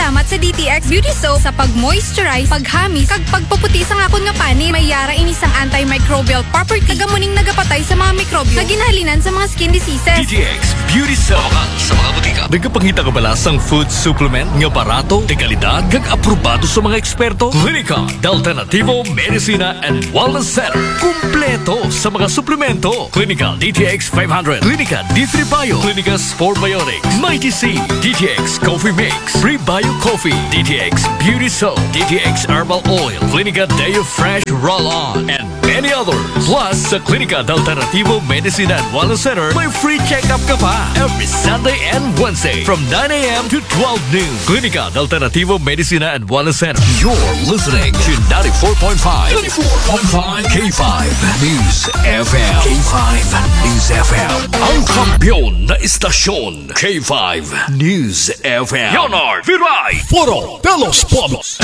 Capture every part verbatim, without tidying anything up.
Salamat sa D T X Beauty Soap sa pag-moisturize, paghamis, kag pagpaputi sa akon nga panit. May yara ini sang antimicrobial property. Taga muning nagapatay sa mga mikrobyo nga ginahalinan sa mga skin diseases. D T X Beauty Soap. Sa mga butika. Nagapangita ka bala sang food supplement nga barato, de kalidad, kag aprobado sa mga eksperto? Klinika de Alternativo Medicina and Wellness Center. Kumpleto sa mga suplemento. Klinika D T X five hundred, Klinika D three Bio, Klinika Sport Biotics, Mighty C, D T X Coffee Mix, Prebio Coffee, D T X Beauty Soap, D T X Herbal Oil, Klinika Deo Fresh Roll-On, and many others. Plus, sa Klinika de Alternativo Medicina and Wellness Center, may free check-up ka pa every Sunday and Wednesday from nine a.m. to twelve noon. Klinika de Alternativo Medicina and Wellness Center. You're listening to ninety-four point five, ninety-four point five K five News F M. K five News F M. Ang kampiyon na istasyon, K five News F M. Leonard Viray. Foro de los Pueblos.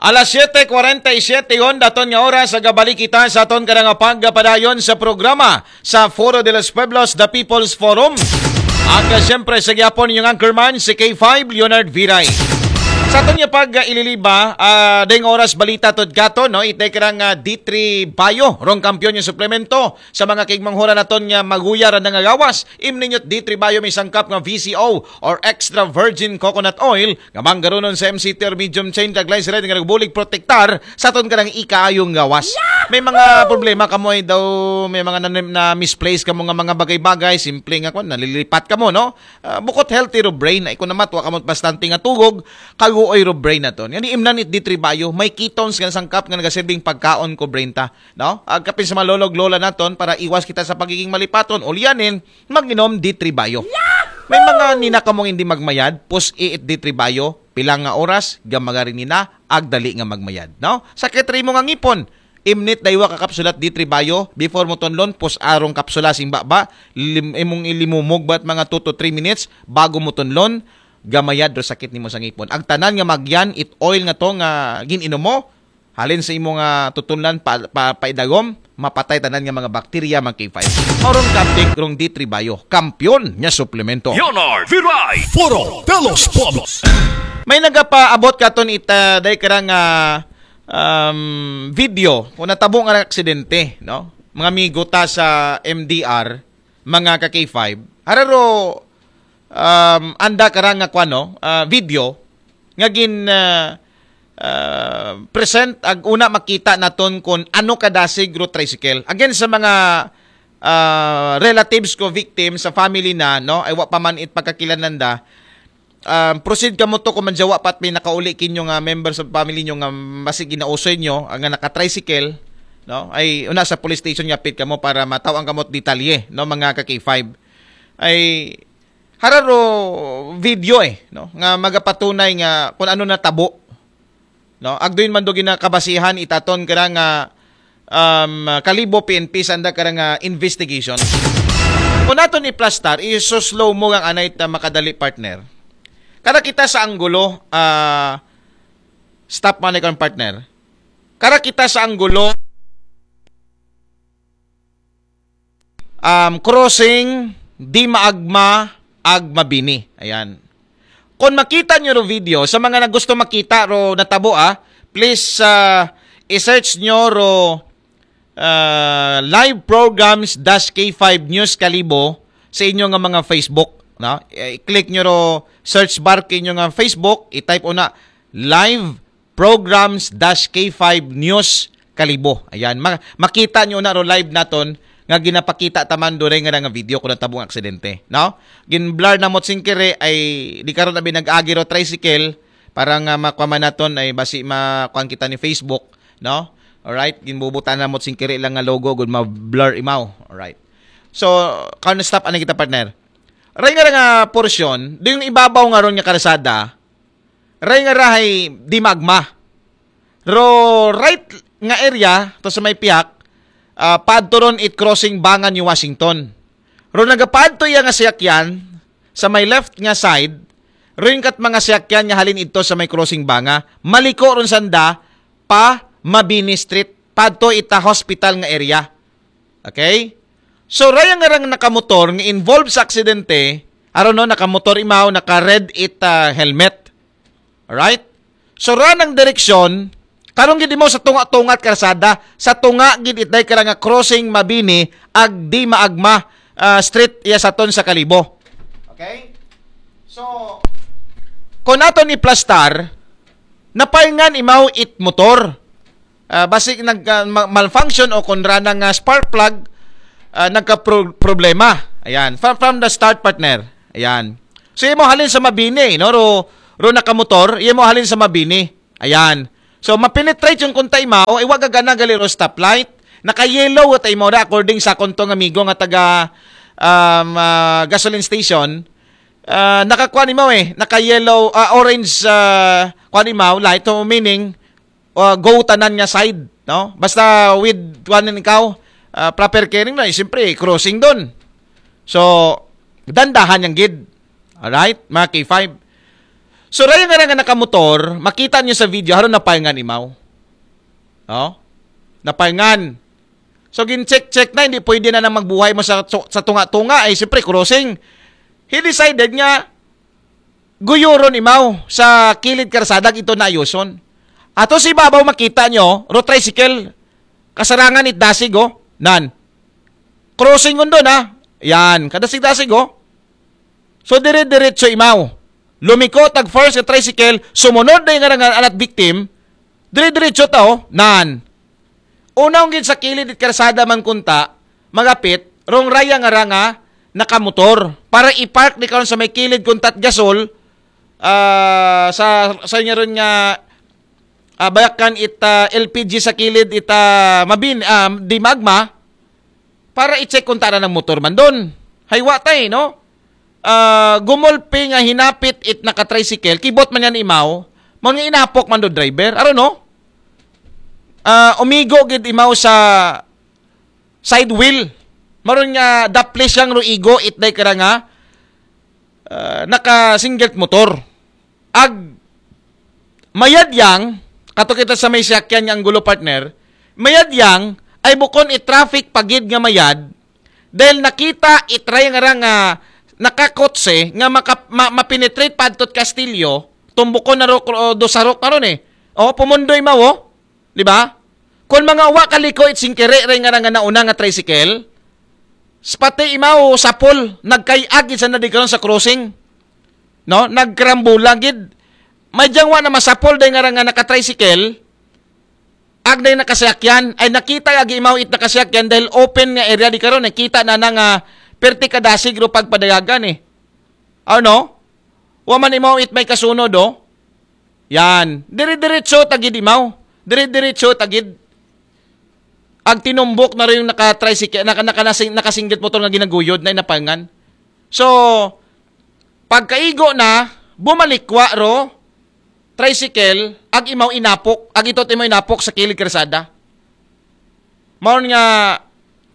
Alas siete cuarenta y siete yon daton nga oras, agabalik kita sa aton kada nga pagpadayon sa programa sa Foro de los Pueblos, The People's Forum. At uh, siyempre sa gyapon yung anchorman si K five Leonard Viray. Sa aton nga pag uh, ililiba, uh, ding oras balita tod kato, no? Itay karang uh, D three Bio, rong kampiyon yung suplemento sa mga kigmanghura naton nga maguyar na nga gawas. Imninyot D three Bio may sangkap nga V C O or extra virgin coconut oil nga manggarunon sa M C T or medium chain kag glyceride nga nagbulig protektar sa aton kanang ikaayong gawas. May mga problema kamo ay daw, may mga na, na misplace kamo nga mga bagay-bagay, simple nga kwan, nalilipat kamo, no? Uh, bukot healthy ro brain, ay kung namatwa kamo bastante nga tugog, kaguoy ro brain naton. Yan imnan it D three Bio, may ketones nga sangkap nga nagasilbing pagkaon ko brain ta, no? Agkapin sa malolog lola naton para iwas kita sa pagiging malipaton, ulyanin, mag-inom D three Bio. May mga nina kamong hindi magmayad, pus iit D three Bio, pilang nga oras, gamagari nina, agdali nga magmayad, no? Sakit rin mo nga ngipon, imnit daywa ka kapsulat D three Bio, before mo tunlon, pus arong kapsula sing baba, lim, imong ilimumog bat mga two to three minutes, bago mo tunlon, gamayad ro sakit nimo sa ngipon. Agtanan nga magyan, it oil nga to nga gin-inom mo, halin sa imo nga tutunlan pa, pa, paidagom, mapatay tanan nga mga bakterya, mga K five. Oron kaptik rong D three Bio, kampiyon nga suplemento. Leonard Viray. Foro de los Pueblos. May nagapaabot katon ita day karang uh, um, video kung natabo nga aksidente, no? Mga amigo ta sa M D R, mga ka K five. Hararo um, anda karang nga kwano, uh, video nga gin uh, uh, present ag una makita naton kung ano kadasig ro tricycle. Again, sa mga uh, relatives ko victim sa family na, no, ay wa pa man it pagkakilananda, um, proceed kamo to kung manjawa pat may nakauli kinyo nga member sa family nyo nga masig ginausoy nyo nga naka-tricycle, no, ay una sa police station yapit kamo para mataw ang kamot detalye, no, mga ka K five. Ay hararo video eh, no, nga magapatunay nga kung ano natabo, no? Agduin man do ginakabasihan itaton kara nga um, Kalibo P N P sanda kara nga investigation. Kung naton iplastar, isuslow mo ang anay ta makadali, partner. Kara kita sa anggulo, uh, stop man ikon, partner. Kara kita sa anggulo um, crossing di maagma ag mabini. Ayan. Kung makita nyo ro video, sa mga na gusto makita ro natabo, ah, please uh, i-search nyo ro uh, live programs dash K five News Kalibo sa inyo nga mga Facebook. No? I-click nyo ro search bar kinyo nga Facebook, i-type una live programs dash K five News Kalibo. Ayan, ma- makita nyo na ro live naton nga ginapakita taman do nga video kung natabong aksidente, no? Gin-blur na mo singkiri ay di karon abi nag-agi ro tricycle para nga makuha naton ay basi makuan kita ni Facebook, no? Alright, ginbubutan na mo singkiri lang nga logo gud ma-blur imaw. Alright. So, kan stop ani kita, partner. Ray nga nga portion, do yung ibabaw nga ron nga karsada, ray nga rahay di magma. Ro right nga area to sa may piyak, uh, padto ron it crossing Bangan New Washington. Ro nagapadto iya nga siyakyan sa may left nga side, rin kat mga siyakyan nga halin ito sa may crossing Banga, maliko ron sanda pa Mabini Street, padto ita hospital nga area. Okay? So, raya nga rang nakamotor nga involved sa aksidente, Aron, no, nakamotor imaw, naka-red it, ah, helmet. Alright? So, ra nang direksyon, karong gid imaw sa tunga-tunga it karsada, sa tunga gid it day kara nga crossing Mabini, ag di maagma, ah, street iya sa ton sa Kalibo. Okay? So, kung aton iplastar, napayngan imaw it motor. Ah, basi nag, ah, ma-, malfunction o kung ra nang, ah, spark plug, ah, nagka-pro-, problema. Ayan, from, from the start, partner. Ayan. So, imo halin sa Mabini, no? Ro, ro nakamotor, imo halin sa Mabini. Ayan. So, mapenetrate yung kunta imaw, iwa gagana gali ro stoplight. Naka-yellow ta imaw ra, according sa akon tong amigo nga taga, um, ah, gasoline station. Ah, nakakuan imaw eh, naka-yellow, ah, orange, ah, kuan imaw, light, so meaning, ah, go tanan nga side, no? Basta with kuan ikaw, ah, proper caring na, eh, siyempre, crossing doon. So, dandahan yang gid. Alright, mga K five. So, raya nga nga nakamotor, makita niyo sa video, haron napayngan imaw. No? Napayngan. So, gin-check-check na, hindi pwede na nang magbuhay mo sa, sa tunga-tunga. Ay, siyempre, crossing. He decided nga, guyuron imaw sa kilid karsada, ito na ayuson. Ato si babaw makita nyo, ro tricycle, kasarangan it dasig, oh. Nan. Crossing undon, ha. Yan, kadasig-dasig, oh. So, dire-diretso imaw. Lumiko, tag first nga tricycle, sumunod na yung nga anat victim, dire-diretso ta, oh. Nan. Unaw gid sa kilid it karsada man kunta, magapit, rong raya nga ra nga nakamotor. Para i-park di karon sa may kilid kunta't gasol, ah, sa, sa inyo ron nga, ah, bayakan it, ah, L P G sa kilid it, ah, mabin, ah, di magma, para i-check kung tara ng motor man doon. Haywa tay, no? Ah, gumulpi nga hinapit it naka-tricycle, kibot man yan imaw, mo nga inapok man do driver. Aro, no? Ah, umigo gid imaw sa side wheel. Maron nga daplis yang ruigo it day kara nga, ah, naka-single motor. Ag mayad yang, kato kita sa may siyakyan nga anggulo, partner, mayad yang, ay bukon i-traffic pagid nga mayad, dahil nakita itray nga ra nga nakakotse nga maka, ma, mapenetrate pa adto't Castillo, tumbukon na ro, o, do sarok na ron eh. O, pumundoy mawo, di ba? Kung mga wa kaliko it singkere ray nga ra nga nauna nga tricycle, s-, pati imaw sapol, nagkayag isa na di karon sa crossing. No? Nagkarambula gid. May diyang wa na masapol day nga ra nga naka-tricycle, ag day nakasakyan, ay nakita agi imaw it nakasakyan dahil open nga area di karon, nakita na na nga perti kadasig ro pagpadayagan eh. Ano? Wa man imaw it may kasunod, oh. Yan. Dire-diretso tagid imaw. Dire-diretso tagid. Ag tinumbok na rin yung naka-tricycle, naka, naka, naka-single motor nga ginaguyod na inapangan. So, pagkaigo na, bumalikwa ro, tricycle, ag imaw inapok, ag ito imaw inapok sa kilid karsada. Maon nga,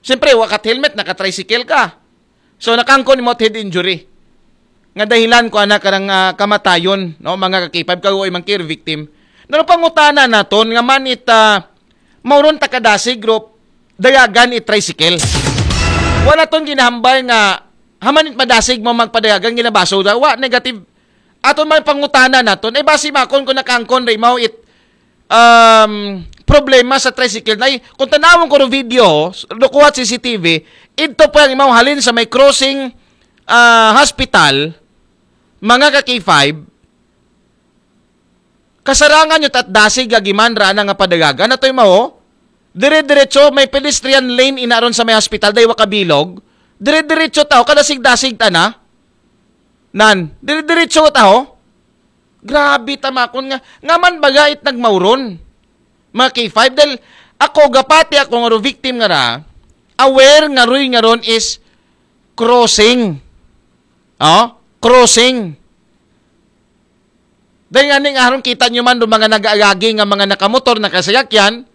siyempre, wakat helmet, naka-tricycle ka. So, nakangkon imo head injury. Nga dahilan ko ana karang, ah, kamatayon, no, mga ka-K five, kagoy man care victim. Nano pangutana naton nga manit, ah, mauron ta kadasig group, dayagan it tricycle. Wala ton ginahambal nga hamanit madasig mo magpadayagan ginabaso da. Wa, negative. Aton man pangutana naton, ay basi makon kung nakangkon ray mao it, um, problema sa tricycle. Nay, kung tanawon ko ro video, lukuhat C C T V, idto pa ang imaw halin sa may crossing, ah, hospital, mga ka K five, kasarangan nyo tat dasig agiman ra na nga padayagan. Atoy mao, dire-diretso, may pedestrian lane inaron sa may hospital, daywa kabilog. Dire-diretso tao, kadasig-dasig ta na. Nan, dire-diretso tao. Grabe tamakon nga. Ngaman bagait nagmauron. Mga K five, dahil ako, gapati ako nga ro victim nga ra, aware nga roy nga ron is crossing. Oh? Crossing. Dahil nga ning aron kita nyo man do mga nag-aagagi nga mga nakamotor, nakasayakyan,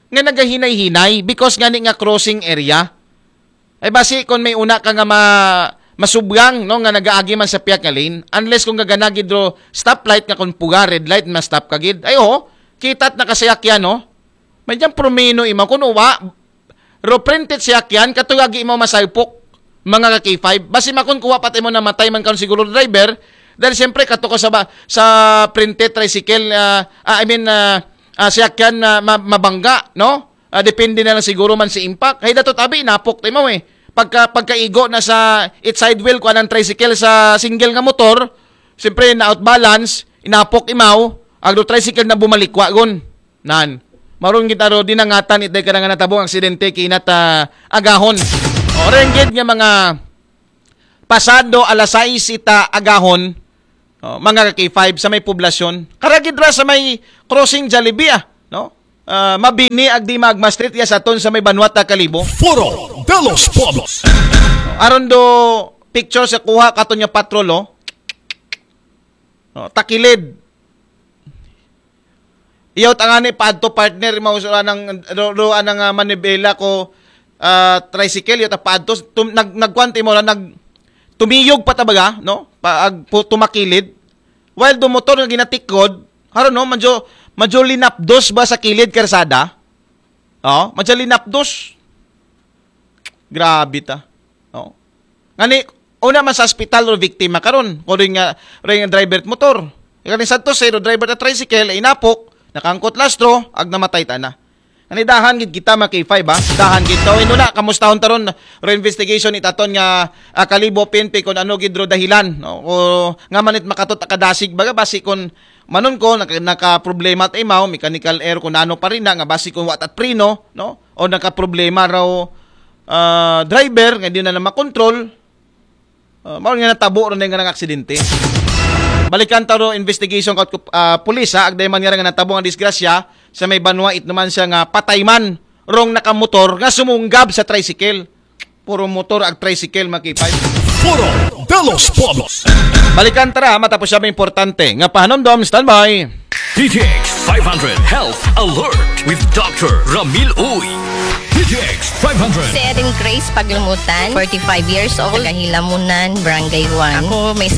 nga nagahinay-hinay because nga ni nga crossing area. Ay basi kung may una ka nga ma-, masubgang, no, nga nagaagi man sa piyak nga lane, unless kung gaganagid ro stoplight nga kung puga red light, ma-stop ka gid. Ay, oo, kita't nakasayakyan, no? May diyang promeno imaw, kung uwa, ro printed siyakyan, katuyagi imaw masaypok. Mga ka-K five, basi makon kuha pati mo namatay man karon siguro driver, dahil siyempre kato ka sa, ba, sa printe tricycle, ah, ah, I mean, ah, ah, siyakyan na ma- mabangga, no? Ah, depende na lang siguro man si impact. Hay dato tabi, inapok ti imaw eh. Pagka, pagkaigo na sa it side wheel, kuan ang tricycle sa single nga motor, siyempre na out balance, inapok imaw, agdo tricycle na bumalikwa gon. Nan. Maron gid aro dinangatan itday kada nga natabong aksidente kinat ah, agahon. O, ren gid nga mga pasado alas sais ita agahon, o, mga ka-K five sa may poblasyon. Karagid ra sa may crossing Jollibee, ah, no? Ah, mabini agdi magma street ya sa aton sa may banwa ta Kalibo. Foro de los Pueblos. Aron do picture sa kuha katon nga patrol, oh. Oh, takilid. Iyaw tangani paadto partner, mausura ng do, do anang ah, manibela ko ah, tricycle, iyaw ta paadto. Tum, nag, nagkuan ti mo ra, nag, tumiyog pa ta baga, no? Pa, ag, pu, tumakilid. While do motor nga ginatikod, haro no, medyo, medyo linapdos ba sa kilid karsada? Oh, medyo linapdos. Grabe ta. Oh. Ngani, una man sa ospital ro biktima karon, ko rin nga, rin nga driver motor. Kani Santos, eh, driver ta tricycle, inapok, nakangkot lastro, ag namatay ta na. Ngani dahan gid kita mga K five, ha? Dahan gid. So, inuna, kamustahon taron, ro investigation itaton nga ah, Kalibo P N P kung ano gid ro dahilan, no? O nga manit makatot akadasig baga basi kung manon ko naka, naka problema ta imaw, mechanical error kung ano pa rin na, nga basi kung watat preno, no? O naka problema raw ah, driver nga di na na makontrol. Ah, mao nga natabo ron nga nang aksidente. Balikan ta ro investigation kat uh, pulis ha, agday man nga nga natabo ang disgrasya sa may banwa it naman siya nga patay man rong nakamotor nga sumunggab sa tricycle. Puro motor ag tricycle mga K five. Foro de los Pueblos. Balikan ta ra matapos siya may importante nga pahanumdom, standby. D T X five hundred Health Alert with Doctor Ramil Uy. D T X five hundred. Si Erin Grace Paglumutan, forty-five years old, taga Hilamunan, Barangay one. Ako may sakit